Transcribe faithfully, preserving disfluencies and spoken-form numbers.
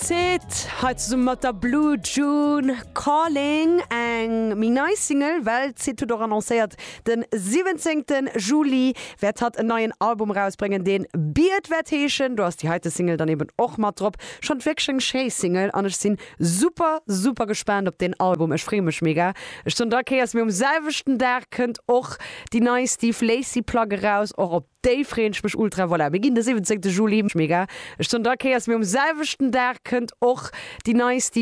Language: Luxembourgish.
Syd hei zesumme mat der Blue June Calling eng méi nei Single well d'Syd huet och annoncéiert den siwwenzéngte Juli wäert hatt en neien Album rausbréngen deen Beard wäert heeschen do ass déi heite Single dann eben och mat drop schonn wierklech eng schéi Single an ech sinn super super gespaant op den Album ech freeë mech mega ech soen der okay mir um selwechten Dag kënnt och déi nei Steve Lacy Plack eraus och op déi freeën ech mech ultra voilà mir ginn de siwwenzéngte Juli mega ech soen der okay mir um selwechten Dag kënnt och déi nei Steve